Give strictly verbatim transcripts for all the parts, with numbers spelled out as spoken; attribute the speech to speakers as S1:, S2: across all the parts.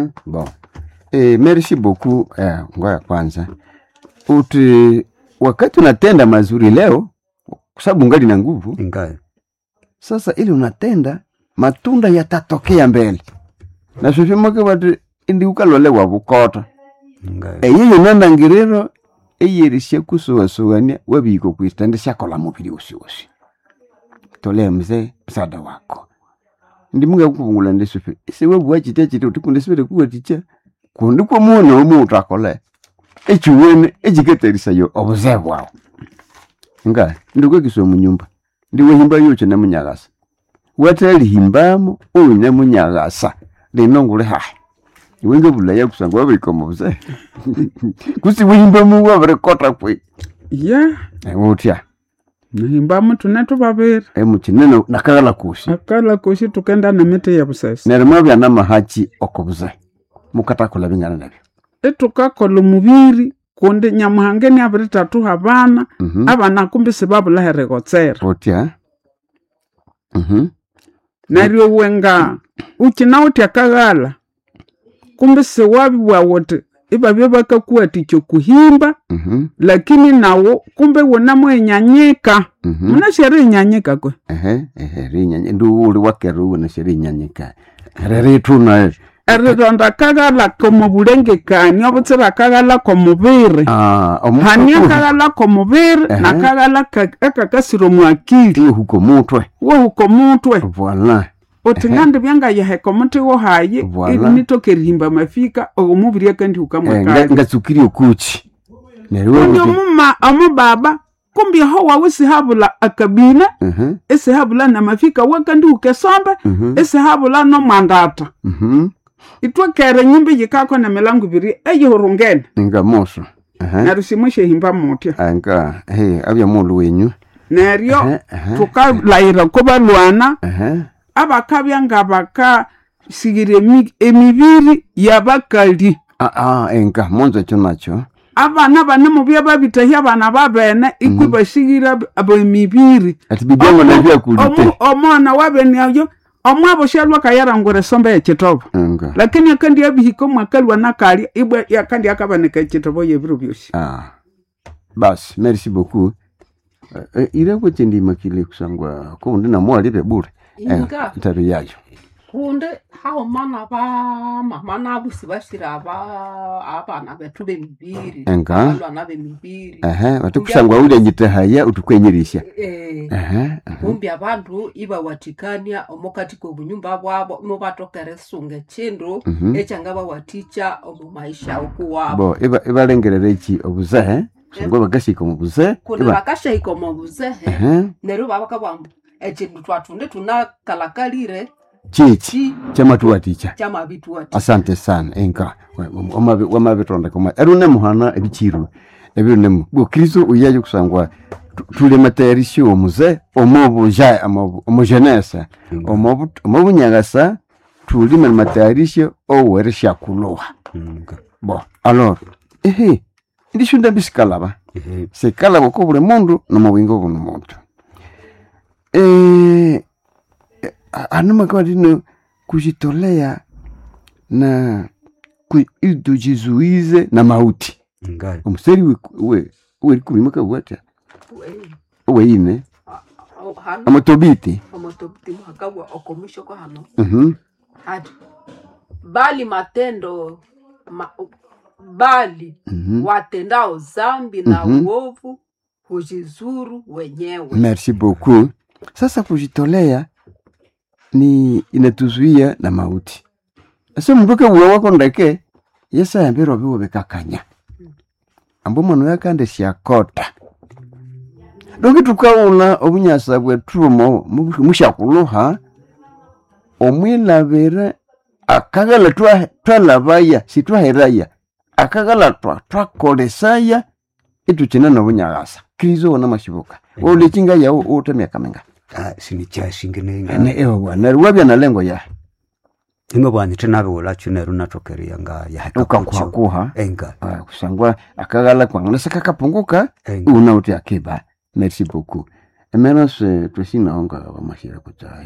S1: Mhm, bon eh, merci beaucoup. Eh, ngoya kwanza uti wakati unatenda mazuri leo kwa sababu ungali na nguvu
S2: Ingayo.
S1: sasa ili unatenda matunda yatatokea mbele na sofimoke wati indi ukalolewa bukota
S2: Ingayo.
S1: eyiyo nandangiriro eyerisya kusuwasuwania wabihika kwitende syakola mubiri wosiwosi tolea mzee msaada wako ndi munga kukuvungula ndisufi isiwe chitya chiti uti kundi sibire kuwaticha kundi kwamuona omu utakole echiwene echiketerisayo obuzee bwawu nga ndikwekiswa munyumba ndiwehimba yoche nemunyagasa watalihimbamo uyu nemunyagasa lino nguli hahe iwe ngabulaya kusangwa wabirikoma obuzee kusi wehimbamu wabirikota kwe
S3: Ya
S1: utya
S3: nihimbamu tune tubabiri
S1: emukinene nakagala kusi
S3: akala kosi tukenda nemiti yebusesa
S1: neryo mwabya namahachi okubuze mukatakola bingana nabyo
S3: itukakola omubiri kundi nyamuhanga niabirithathuha abana
S1: Mhm.
S3: abana kumbi sibabulaha erigotsera
S1: utya Mhm.
S3: neryo iwe nga ukinawithe akaghala kumbi siwabibugha wuthi ibabya bakakuwathikya okuhimba
S1: Mhm.
S3: lakini nawu kumbi wunamuhinyanyika
S1: Mhm.
S3: munasi erihinyanyika kwe
S1: ehe ehe rinyanya ndi uli wakera uwona sherinyanyika rerithuna
S3: erironda akaghala komubulengekania obutsira akaghala komubiri
S1: ah
S3: hani akaghala komubiri
S1: Ehe.
S3: nakaghala ka- akakasira omwakili
S1: huko mutwe
S3: wohuka omutwe
S1: voila
S3: uthi
S1: Ehe.
S3: ngandibya ngayiheka omuthi wohayi
S1: Voilà.
S3: nitoka erihimba mafika omubiri akandihuka
S1: Eh, nga-
S3: mwakali
S1: ngatsukiri okuchi neryo
S3: kundi
S1: wewe-
S3: omuma omubaba kumbi aho wawu isihabula akabina
S1: Mhm,
S3: isihabula namafika wakandihuka esombe
S1: mhm,
S3: isihabula nomwandata
S1: mhm.
S3: itwekere enyumba yikako nemilango ibiri eyihurungene
S1: nga moso Ehe.
S3: neryo simwishehimba mutya
S1: Ah, nga he abya mulu wenyu
S3: neryo
S1: Ehe, ehe.
S3: thukalayira kubalwana
S1: Ehe.
S3: abakabya nga bakasighira emi- emibiri yabakali
S1: Ah, ah, enga monzo ekyo nakyo
S3: abana banemubya babithahya abana babene ikwi basighira emibiri
S1: ati bibyango nabyakulite
S3: Omu- omwana wabene oyo omwabo syalwa kayarangura esombe yekitobo
S1: nga
S3: lakini akandi abihika omwakalwa nakalya ibwa yakandi akabanika ekitobo yebiro byosi
S1: ah basi merci beaucoup Eh, eh, ireko chendimakile kusangwa kundi namwalibe bure
S4: Inga.
S1: ntaro yayo
S4: kundi hauma bamama nabo sibashira aba abana bethu bemibiri
S1: Enga.
S4: abalwana bemibiri
S1: ehe bati kusangwa ulya nyitahaya utukwenyirisya
S4: Eh,
S1: ehe ehe.
S4: kumbi abandu ibawathikania omukati kobunyumba bwabo imubatoka erisunga ekindu
S1: Mhm.
S4: ekyangabawathikya omu maisha okuwabo
S1: bo iba- ibalengerera eki obuzehe kusangwa bakasika omu buzehe
S4: kundi
S1: iba-
S4: bakashahika omu buzehe
S1: ehe
S4: neryo babakabugha ekindu twathunde tunakalakalire
S1: chichi
S4: ki
S1: kyamatuwatikya
S4: kyamabithuwathikya
S1: asante sana enka wamabitondeka eri unemuhana ebichiru ebirunemu bwo kristo uyayo kusangwa tu- tuli matayarisho omuze omubuja omujenesa omubunyagasa tulime matayarisho owerishakuloha
S2: Nga.
S1: bo alors ehe ndishunda bisikalaba
S2: Ehe.
S1: sikalaba ko buli mundu nomubwingo buno muntu eh anuma kama tino kujitolea na ku, ili tujizuize na mauti
S2: Nga.
S1: omuseri we we werikumi makabwata weine
S4: hano
S1: amotobiti
S4: omotobiti muhakabwa okomwishoko hano
S1: mhm
S4: hati bali matendo ma, bali
S1: mhm
S4: watendao zambi na
S1: Mhm.
S4: uovu hujizuru wenyewe
S1: merci beaucoup sasa kujitolea ni inatuzuia na mauti ase mundu kewuwa wako ndeke yesayambirwa biwo bikakanya ambu mwana yakande syakota donki tukaula obunyasa bwethu omo musyakuluha omwilabira akaghala twa- twalabaya sitwaheraya akaghala twa twakolesaya itukina nobunyakasa kristo wona mashibuka ulichinga yawo ute miaka minga
S2: Ah, sinikyashinginenga
S1: ne ewe bwana neryo wabya na lengo ya
S2: imwe bwanyi thinabiwulakyo neryo nathokereya nga yaheka kukyo.
S1: ukakuhakuha
S2: enga
S1: Ah, kusangwa akaghala kwangu seka
S2: enga
S1: una uti akiba merci beaucoup emera se twesinaonga wamashira kutsa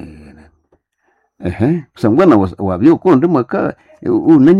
S1: ehe kusangwa na wabyukundi mwaka unenye